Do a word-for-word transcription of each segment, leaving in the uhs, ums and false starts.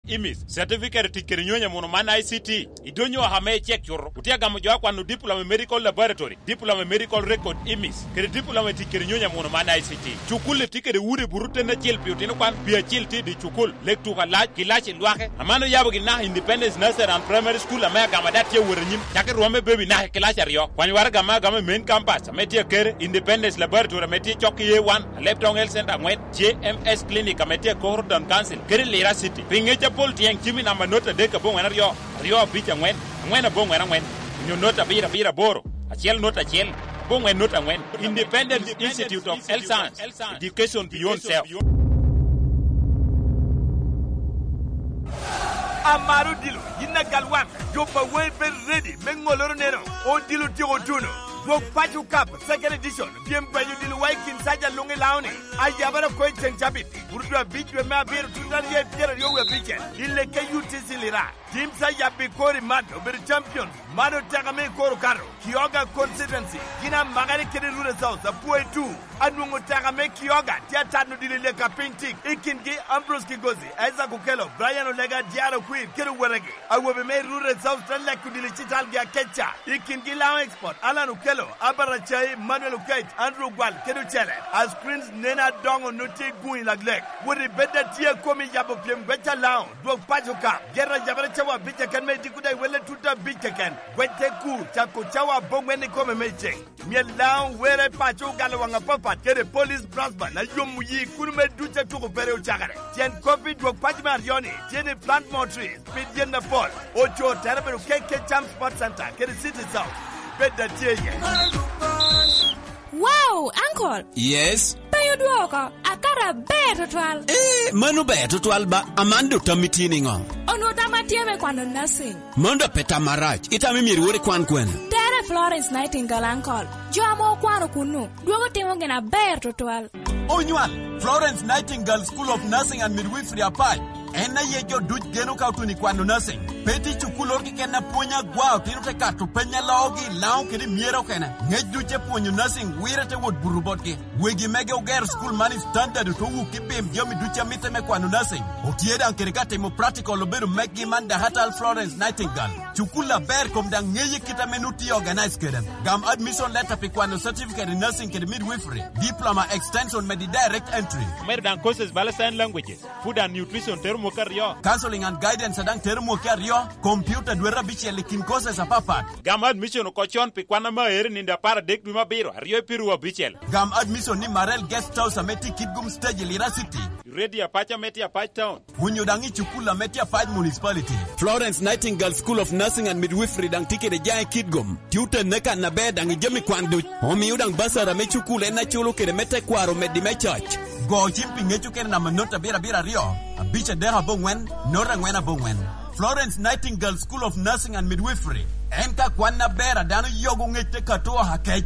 imis, certificate tic kede nyonyo amuno man I C T, idonyo ame icek cuto, otye agamo jo a kwano diploma i medical laboratory, diploma i medical record imis, kede diploma i tic kede nyonyo amuno man I C T. Cukul-li tye kede udi buto ten acel pi otino kwan, pi acel tye i dye cukul, lek tuko alac, kilaci lwake. Aman oyabo gin naka Independence Nursery and Primary School ame agamo ada tye awot anyim, cak i rwomme baby naka i kilaci aryo. Kwany waraga ame agamo i main campus ame tye akere, Independence Laboratory ame tye cok i A one, Alebtong Health Center angwen, J M S Clinic ame tye i Koro Town Council, kede Lira City. Pi ngec apol tyeng, cim i namba not adek aboŋwen aryo, aryo abic angwen, angwen aboŋwen angwen, onyo not abiro abiro aboro, acel not acel, aboŋwen not angwen. Independent Institute of Health Science, Education Beyond Self. Amaro odilo, yin agal waŋ, jo pa wei bed ready me ŋoloro neno, odilo tyeko tuno. Dwog Paco Cup, second edition, pyem paco odilo wa i kin saja luŋ i Laoni, ayabara oko i ceŋ cabit, burudu abic dwe me abiro, tuta rye pyeraryo wie abicel, i leke U T C Lira. Teams a yabbi kor i man obedo champions. Man oteka me i kor okato. Kioga constituency, gin amakere kede Rural South, apwoyo tu. Anwoŋo teka me Kioga tye atano dilo i leka piny tik. I kingi, Ambrose Kigozi, Isaac Okello, Brian Olega, Diaro Kwir, kede owetegi. Awobe me Rural South te leko dilo i citalgi akeca. I kingi, Lao Export, Alan Okello, Abara Acai, Manuel Okech, Andrew Gwal, kede ocele. A screens nen adoŋo nut tye i guŋ i laglek. Wot i bed atye a komi yabo pyem gweca Lao. Dwog Paco Cup, gero ayabere cawa abic keken me idiko daŋ iwelle tutte abic keken. Gwec te kur, cako cawa aboŋwen ikome me iceŋ. Myel Lao were paco ogalo waŋ apapat kede Police Brass Band a yomo yi kuno me duc a tuko pere ocakere. Tyen kop i dwog paco me aryo-ni tye ni plant more trees, pid yen apol. Oco tere bedo K K Cham Sports Center kede City South. Bed atye iye. Wow, uncle! Yes? Pe odwoko, akato aber tutwal. Eh, mano ber tutwal ba. Amando tammi tye niŋo? Onwoŋo tam atye me kwano nursing. Mano dok pe tam marac. Itamo myero iwor ikwan kwene? Tere Florence Nightingale, uncle. Jo ame okwano kunnu, dwogo timo gin aber tutwal. Onywal, Florence Nightingale School of Nursing and Midwifery Apac. En aye jo duc geno ka otuno i kwano nursing. Pe tye cukul oro keken a pwony agwa otino te kato peny a loogi i Laŋo kede i Myero okene. Ngec duc te pwonyo nursing wire te wot buto botgi. Wegi mege ogero cukul man i standard otwo wuk i pim jami duc a mitte me kwano nursing. Otye daŋ kede ka timo practical obedo mekgi man Dakatal Florence Nightingale. Cukul aber kom daŋ ŋeye kit ame nut tye organize kede. Gam admission letter pi kwano certificate in nursing kede midwifery, diploma, extension medi direct entry. Omedo daŋ courses bala sign languages, food and nutrition tero mwaka aryo. Counseling and guidance a daŋ tero mwaka aryo, computer dwete abicel i kin courses apapat. Gam admission oko con pi kwan ame aero i nino apar adek dwe me abiro, aryo i piru abicel. Gam admission ni Marel Guest House ame tye i Kitgum Stage i Lira City. Ready Apac ame tye Apac Town. Onyo daŋ i cukul ame tye Apac Municipality. Florence Nightingale School of Nursing and Midwifery daŋ tye kede jaŋ i Kitgum. Tye otenne kan aber daŋ i jami kwan duc. Omio daŋ basara me cukul en aculo kede me tekwaro omeddi me coc. Go cim pi ŋec okene namba not abiro abiro aryo, abic adek aboŋwen, not angwen aboŋwen. Florence Nightingale School of Nursing and Midwifery. En ka kwan aber a dano yogo ŋec te kato oha kec.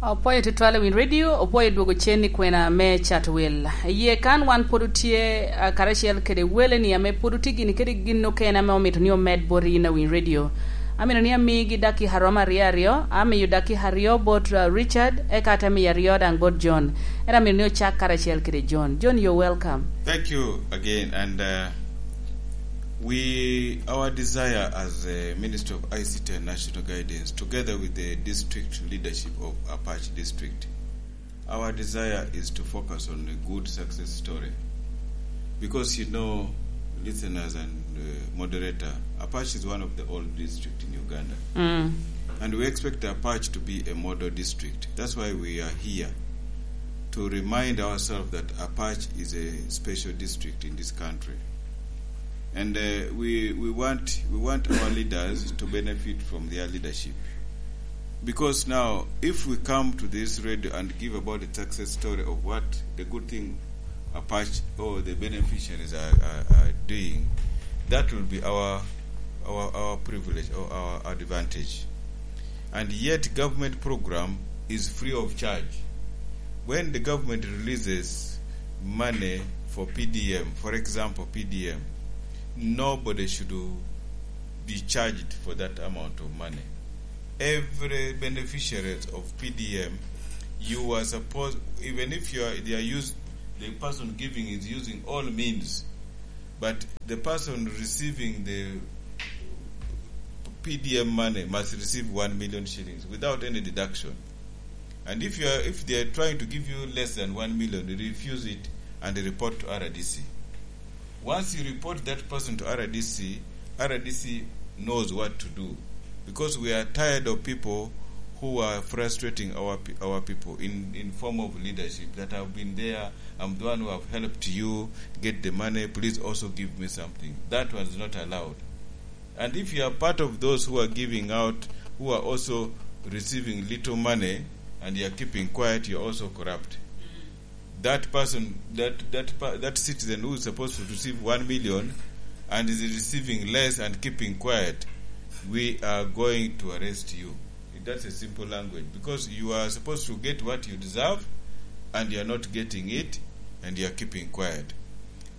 Opwoyo tutwal i Win Radio, opwoyo dwogo cen i kwena me cato wel. Iye kan wan pwod otye, ah, karacel kede wele-ni ame pwod otye gini kede gin okene ame omito ni omed bot yin a Win Radio. Amito ni amigi dakika romo aryo aryo, amiyo dakika aryo bot, ah, Richard, eka ate miyo aryo daŋ bot John. Ento amito ni ocak karacel kede John. John, you're welcome. Thank you again, and, uh, we, our desire as a Ministry of I C T and National Guidance, together with the district leadership of Apac District, our desire is to focus on a good success story. Because, you know, listeners and, uh, moderator, Apac is one of the old districts in Uganda. Mm. And we expect Apac to be a model district. That's why we are here to remind ourselves that Apac is a special district in this country. And, uh, we, we want, we want our leaders to benefit from their leadership. Because now, if we come to this radio and give about the success story of what the good thing Apac or the beneficiaries are, are, are doing, that will be our, our, our privilege or our advantage. And yet government program is free of charge. When the government releases money for P D M, for example, P D M, nobody should be charged for that amount of money. Every beneficiary of P D M, you are supposed, even if you are, they are used, the person giving is using all means But the person receiving the P D M money must receive one million shillings without any deduction. And if you are, if they are trying to give you less than one million, refuse it and report to R D C. Once you report that person to R D C, R D C knows what to do, because we are tired of people who are frustrating our pe-, our people in, in form of leadership that have been there. "I'm the one who have helped you get the money. Please also give me something." That one is not allowed. And if you are part of those who are giving out, who are also receiving little money, and you are keeping quiet, you are also corrupt. That person, that, that pa-, that citizen who is supposed to receive one million and is receiving less and keeping quiet, we are going to arrest you. That's a simple language, because you are supposed to get what you deserve, and you are not getting it, and you are keeping quiet.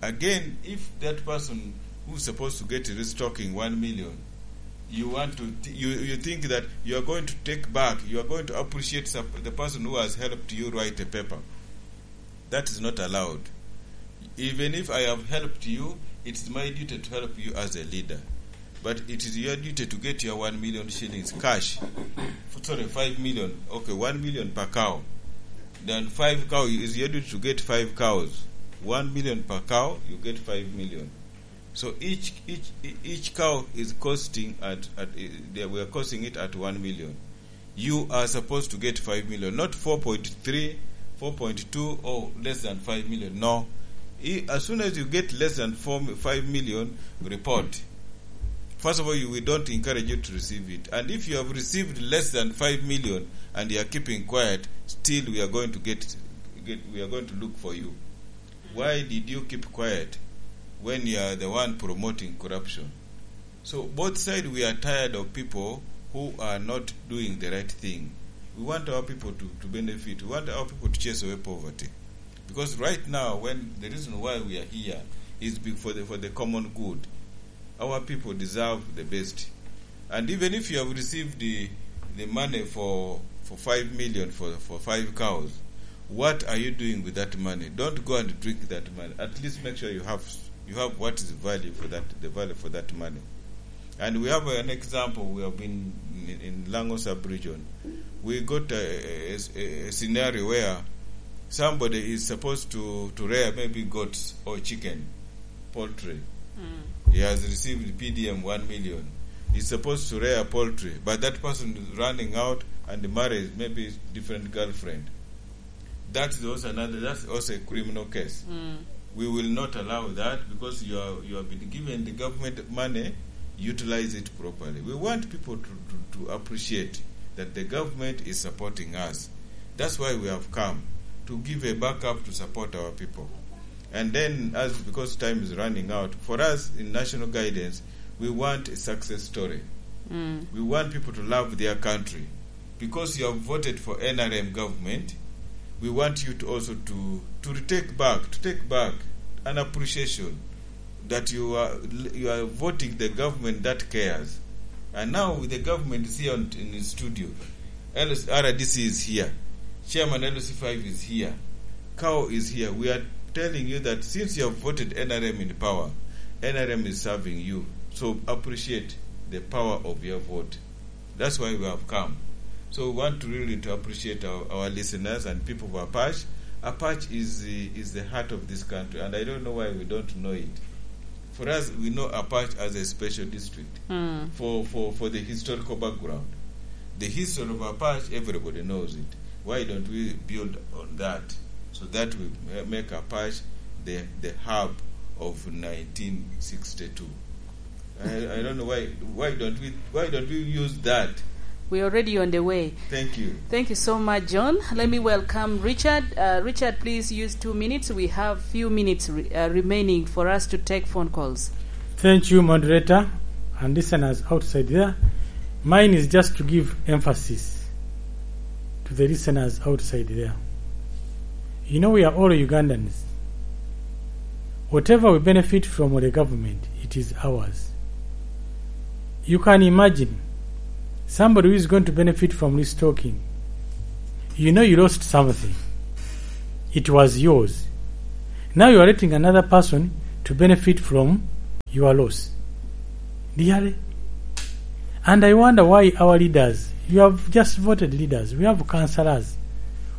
Again, if that person who is supposed to get restocking one million, you want to th-, you, you think that you are going to take back, you are going to appreciate sup-, the person who has helped you write a paper. That is not allowed. Even if I have helped you, it's my duty to help you as a leader. But it is your duty to get your one million shillings cash. F-, sorry, five million. Okay, one million per cow. Then five cow, is your duty to get five cows. One million per cow, you get five million. So each, each, each cow is costing at, at, eh, they, we are costing it at one million. You are supposed to get five million, not four point three, four point two, or less than five million. No. I-, as soon as you get less than four, five million, report. First of all, you, we don't encourage you to receive it. And if you have received less than five million and you are keeping quiet, still we are going to get, get, we are going to look for you. Why did you keep quiet when you are the one promoting corruption? So both sides, we are tired of people who are not doing the right thing. We want our people to, to benefit. We want our people to chase away poverty. Because right now, when the reason why we are here is be-, for the, for the common good. Our people deserve the best. And even if you have received the, the money for, for five million for, for five cows, what are you doing with that money? Don't go and drink that money. At least make sure you have, you have what is value for that, the value for that money. And we have an example. We have been in, in Lango sub-region. We got a, a, a, a scenario where somebody is supposed to, to rear maybe goats or chicken, poultry. Mm. He has received P D M one million. He's supposed to rear poultry, but that person is running out and marries maybe different girlfriend. That is also another, that's also a criminal case. Mm. We will not allow that, because you are, you have been given the government money, utilize it properly. We want people to, to, to appreciate that the government is supporting us. That's why we have come to give a backup to support our people. And then, as, because time is running out, for us in national guidance, we want a success story. Mm. We want people to love their country. Because you have voted for N R M government, we want you to also to, to retake back, to take back an appreciation that you are, you are voting the government that cares. And now the government is here on, in the studio. L C, R D C is here. Chairman L C five is here. Cow is here. We are telling you that since you have voted N R M in power, N R M is serving you. So appreciate the power of your vote. That's why we have come. So we want to really to appreciate our, our listeners and people of Apache. Apache is the, is the heart of this country, and I don't know why we don't know it. For us, we know Apache as a special district. Mm. For, for, for the historical background. The history of Apache, everybody knows it. Why don't we build on that so that we ma-, make Apache the, the hub of nineteen sixty-two? I, I don't know why, why don't we, why don't we use that? We're already on the way. Thank you. Thank you so much, John. Let me welcome Richard. Uh, Richard, please use two minutes. We have few minutes re-, uh, remaining for us to take phone calls. Thank you, moderator, and listeners outside there. Mine is just to give emphasis to the listeners outside there. You know, we are all Ugandans. Whatever we benefit from the government, it is ours. You can imagine somebody who is going to benefit from restocking. You know you lost something. It was yours. Now you are letting another person to benefit from your loss. Really? And I wonder why our leaders, you have just voted leaders, we have councillors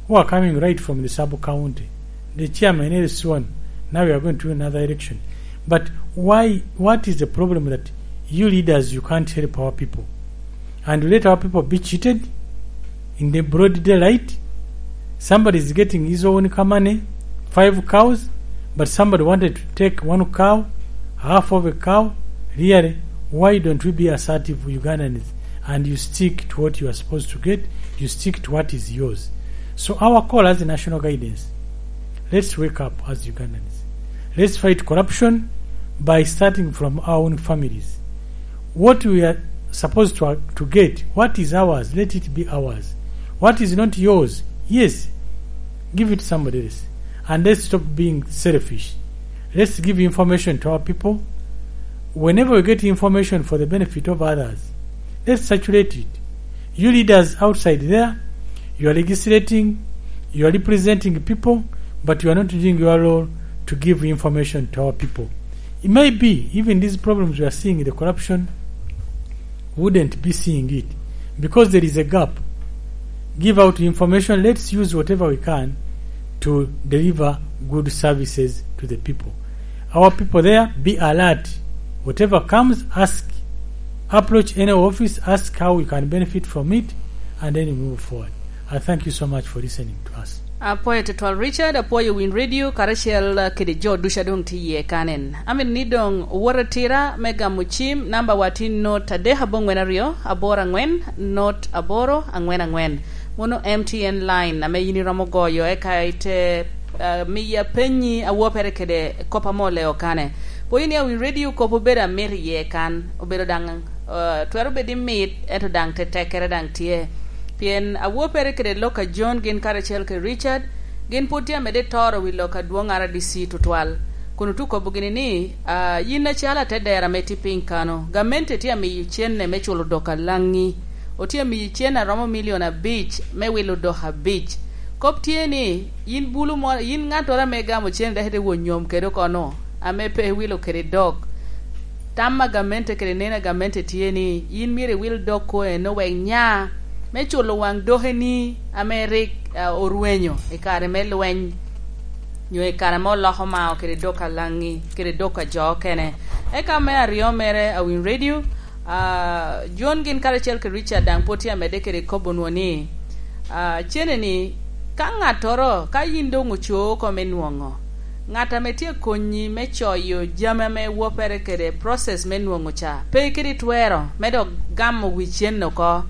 who are coming right from the sub-county, the chairman is sworn, now we are going to another election. But why, what is the problem that you leaders, you can't help our people? And let our people be cheated in the broad daylight. Somebody is getting his own money, five cows, but somebody wanted to take one cow, half of a cow. Really, why don't we be assertive Ugandans and you stick to what you are supposed to get? You stick to what is yours. So our call as a national guidance, let's wake up as Ugandans. Let's fight corruption by starting from our own families. What we are supposed to, to get, what is ours, let it be ours. What is not yours, yes, give it to somebody else. And let's stop being selfish. Let's give information to our people. Whenever we get information for the benefit of others, let's circulate it. You leaders outside there, you are legislating, you are representing people, but you are not doing your role to give information to our people. It may be even these problems we are seeing, the corruption, wouldn't be seeing it because there is a gap. Give out information. Let's use whatever we can to deliver good services to the people. Our people there, be alert. Whatever comes, ask. Approach any office, ask how you can benefit from it, and then you move forward. I thank you so much for listening to us. Apwoyo tutwal Richard, apwoyo Win Radio karacel kede jo ducu a doŋ tye iye kanen. Amito ni doŋ owot atira me gamo cim, namba wa tye not adek aboŋwen aryo aboro aŋwen not aboro aŋwen aŋwen. Mono M T N line ame yin iromo goyo, eka ite, ah, miya penyi awopere kede kop ame oleo kane. Pwoyo ni a Win Radio kop obedo amit iye kan, obedo daŋ, ah, twero bedo ni mit, ento daŋ tetekkere daŋ tye. Pien awopere kede lok a John gin karacel kede Richard, gin pwod tye amedde toro wi lok adwoŋ R D C tutwal, kun otuko kobo gini ni, ah, yin acalo atedera ame tye piny kano, gamente tye amiyo cenne me culo dok alaŋi. Otye amiyo cen a romo milion abic me wilo dok abic. Kop tye ni, yin bulu mo, yin ŋattoro ame gamo cen dok ite wonyom kede oko-nu, ame pe iwilo kede dok. Tam a gamente kede neno a gamente tye ni, yin myero iwil dok ko eno wek nya me culo waŋ dokeni ame rik, ah, orwenyo i kare me lweny, nyo i kare ame oloko mao kede dok alaŋi, kede dok a jo okene. Eka me aryo mere, a Win Radio, ah, John gin karacel kede Richard daŋ pwod tye amedde kede kobo nwo ni, ah, cene ni, ka ŋattoro, ka yin doŋ oco oko me nwoŋo, ŋat ame tye akonyi me coyo jami ame wopere kede process me nwoŋo ca, pe kede twero me dok gamo wi cen oko,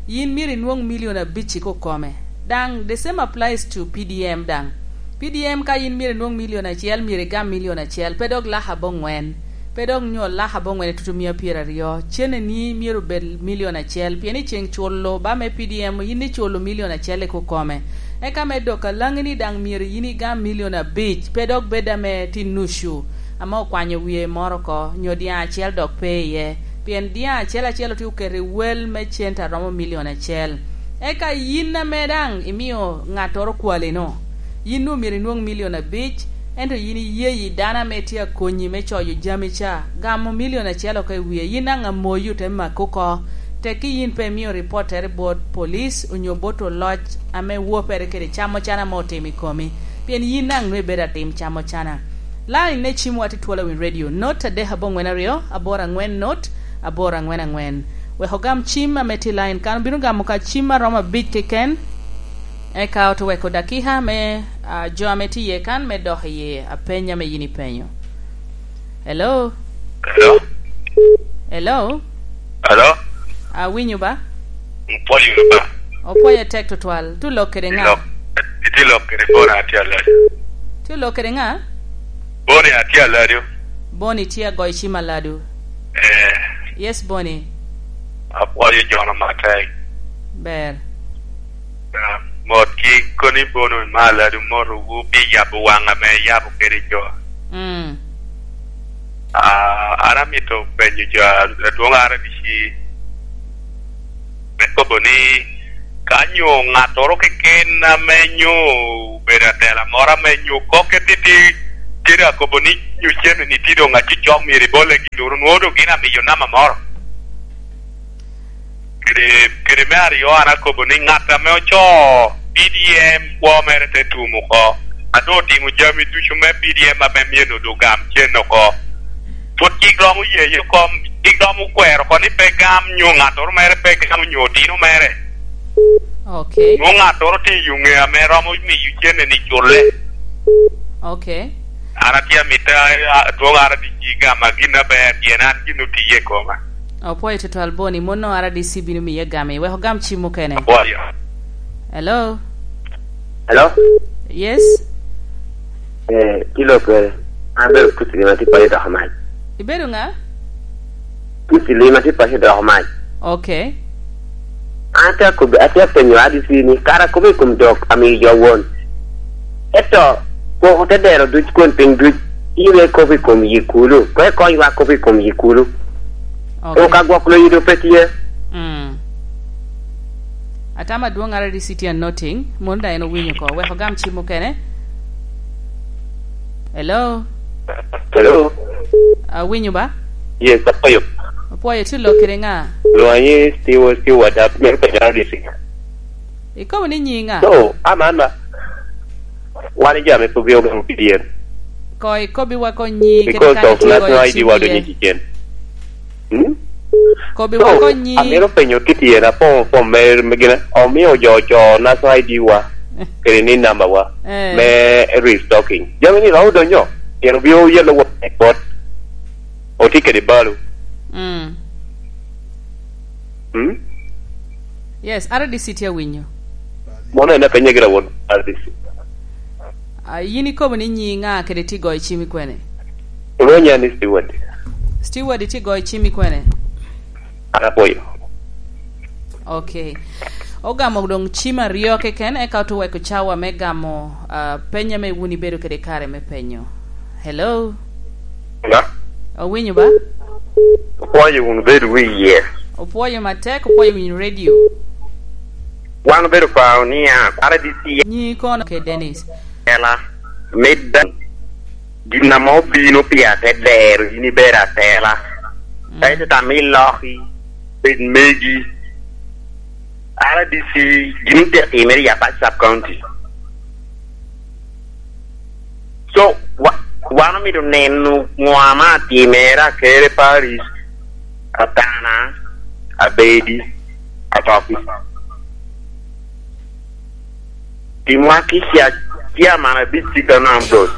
yin myero inwoŋ milion abic i kokome. Daŋ the same applies to P D M daŋ. P D M ka yin myero inwoŋ milion acel, myero igam milion acel, pe dok lak aboŋwen. Pe dok nyo lak aboŋwen i tutumia pyeraryo. Cene ni myero bed milion acel, pien i ceŋ culo ba me P D M, yin iculo milion acel i kokome. Eka me dok alaŋi ni daŋ myero yin igam milion abic, pe dok bed ame tye nucu, ame okwanyo wie moro oko, nyo dyaŋ acel dok pe iye. Pien dyaŋ acel acel otye oketo i wel me cente a romo milion acel. Eka yin ame daŋ imio ŋattoro kwalino, yin omyero inwoŋ milion abic, ento yin iye yi dano ame tye akonyi me coyo jami ca, gamo milion acel oko i wie, yin daŋ amoyi ote maki oko. Tekki yin pe imio ripottere bot police onyo bot oloc ame wopere kede camocana ame otimo i komi, pien yin daŋ nwoŋo ibedo atim camocana. Line me cim wa tye twolo i Win Radio, not adek aboŋwen aryo, aboro aŋwen not, aboro aŋwen aŋwen. Wek ogam cim ame tye i line kan, obino gamo ka cim a romo abic keken, eka ote weko dakika me, ah, jo ame tye iye kan me dok iye apeny ame yin ipenyo. Hello? Hello? Hello? Hello? Awinyo ba? Opwoyo wunu ba? Opwoyo tek tutwal. Tye lok kede ŋa? Lok, itye lok kede Boni atye aladi. Tye lok kede ŋa? Boni atye aladi. Boni tye agoyo cim aladi. Eh. Yes, Boni. Apwoyo jono matek. Ber. Ah, mot ki koni Boni me aladi, mot wu pi yabo waŋ ame yabo kede jo. Mm. Ah, an amito penyo jo a-, adwoŋ R D C me kobo ni, ka nyo ŋattoro keken ame nyo obedo atela moro ame nyo kokke titi, Cen akobo ni, "Nyo cen ni tye doŋ acocok, myero ibolle gin duru." Nwoŋo doŋ gin amiyo namba moro. Kede, kede me aryo, an akobo ni ŋat ame ocoo P D M kwo mere te tum oko, a doŋ otimo jami ducu me P D M ame myero doŋ gam cen oko, pwod cik romo yeye oko, cik romo kwero oko ni pe gam, nyo ŋattoro mere pe gam, nyo otino mere. Ok. Nwoŋo ŋattoro tye i yo ŋe ame romo miyo cen ni culle. Ok. An atye amito, a, adwoŋ R D C gama gin aber, pien an gin otiye i koma. Apwoyo tutwal Boni, mano R D C bino miye gami. Wek ogam cim mukene. Apwoyo. Hello? Hello? Yes? Eh, kilo kere. An bero Pusi Lima, atye paco doko mac. Ibedo ŋa? Pusi Lima, atye paco doko mac. Ok. An atye akobi-, atye apenyo R D C ni, kara akobo i kom dok amiyo jo won. Ento, koko te dero duc kun piny duc, in ikobo i kom yi kulu. Kono ikonywa kobo i kom yi kulu. Ok. Koko ka gwok loyo doŋ pe tye. Mm. Atamo adwoŋ R D C tye anoting, mono daŋ en owinyo oko. Wek ogam cim mukene. Hello? Hello? Awinyo ba? Yes, apwoyo. Apwoyo, tye lok kede ŋa? Lwonga ni Stewart, Stewart, amito penyo R D C. Ikobo ni nyi ŋa? So, aman ma, wan i jami pe obino gamo pidyen. Ko ikobbiwa ko nyi, kede because kare of tye national goyo I D cim wa iye. Donyo i kicen. Hmm? Kobbiwa ko nyi. So, amito penyo kit yen, apoŋo fom me, me gine, omio jo oco national I D wa, kede ni number wa, eh, me restocking. Jami ni romo donyo, pien obino yelo wa i kot. Otye kede balo. Mm. Hmm? Yes, R D C tye awinyo. Mono en apenye gira won R D C. Ah, yin ikobo ni nyi ŋa kede tye goyo cim i kwene? Iwinyo ni Stewart. Stewart, itye goyo cim i kwene? An apwoyo. Ok. Ogamo doŋ cim aryo keken, eka otye oweko cawa me gamo, ah, peny ame wun ibedo kede kare me penyo. Hello? Nga? Owinyo ba? Opwoyo wunu bedo wi iye. Opwoyo matek, opwoyo winyo radio. Wan obedo kwao niya, R D C nyi kono ke Dennis. Ela, me dano, gin ame obino pi atedero, in ibedo atela. Mm. Kaeto tamo iloki, bed megi. R D C gin te timere i Apac Sub County. So, wa-, wan omito neno ŋo ame atimere Akere Parish, Atana, Abedi, Atoki. Timwa kica, chairman abic cik anam dot.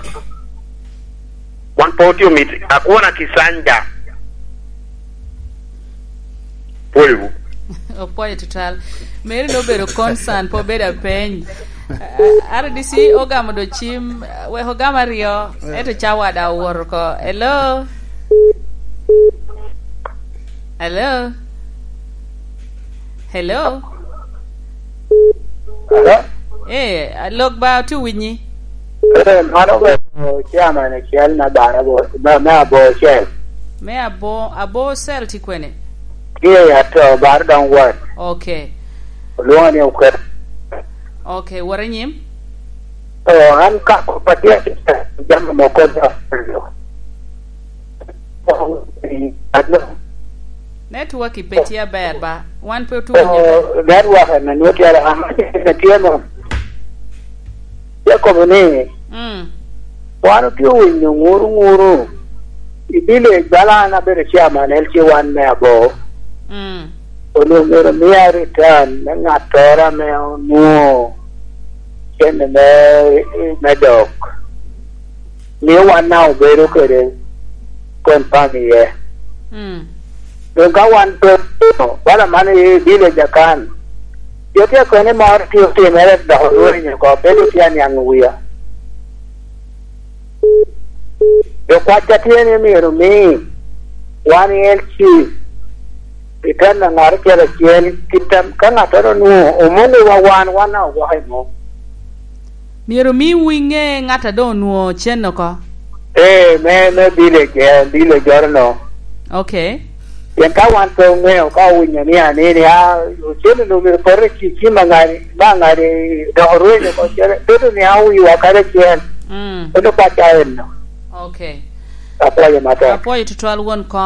Wan pe otye omit, akwona Kisanja. Pwoyowu. Opwoyo tutwal. Meri nobedo concern, pe obedo apeny. Ah, R D C ogamo do cim, wek ogam aryo, ento cawa daŋ owoto oko. Hello? Hello? Hello? Hello? Eh, lok ba, otye winyi. Eh, mano obedo chairman acel me bar abo-, me, me abo cell. Me abo, abo cell tye kwene? Tye i Ato, bar Dong West. Ok. Olwoŋo ni Oket. Ok, wot anyim. Oh, an ka kop atye, jami moko dok. Network pe tye aber ba? Wan pe otuco. Oh, network en nwoŋo tye, ama tye mo. Tye kobo ni, mm, wan otye winyo ŋuru ŋuru i village, bala an abedo chairman L C one me Abo. Mm. Onwoŋo myero mia return me ŋattoro ame onwoŋo cente me, me dok. Mio wan daŋ obedo kede confirm iye. Mm. Doŋ ka wan pe otimo, bala man i village akan, jo tye akwene moro tye otimere dok orwenyo oko, pe doŋ tye aniaŋ wia. Jo kwacca tye ni myero omi wan i L C i ten a ŋat acel acel, kit a, ka ŋattoro onwoŋo omonowa wan, wan daŋ ogwoko i mom. Myero omiwu iŋe ŋat a doŋ onwoŋo cen oko? Ee, me, me village, ee, village oro no. Ok. Pien ka wan pe oŋeo, ka owinyo ni anini, a, ocen onwoŋo myero poto i ci-, cim a ŋadi, ma ŋadi dok orwenyo oko cen, bedo ni a wiwa kadi acel. Mm. Bedo pacca enno. Ok. Apwoyo matek. Apwoyo tutwal won kom.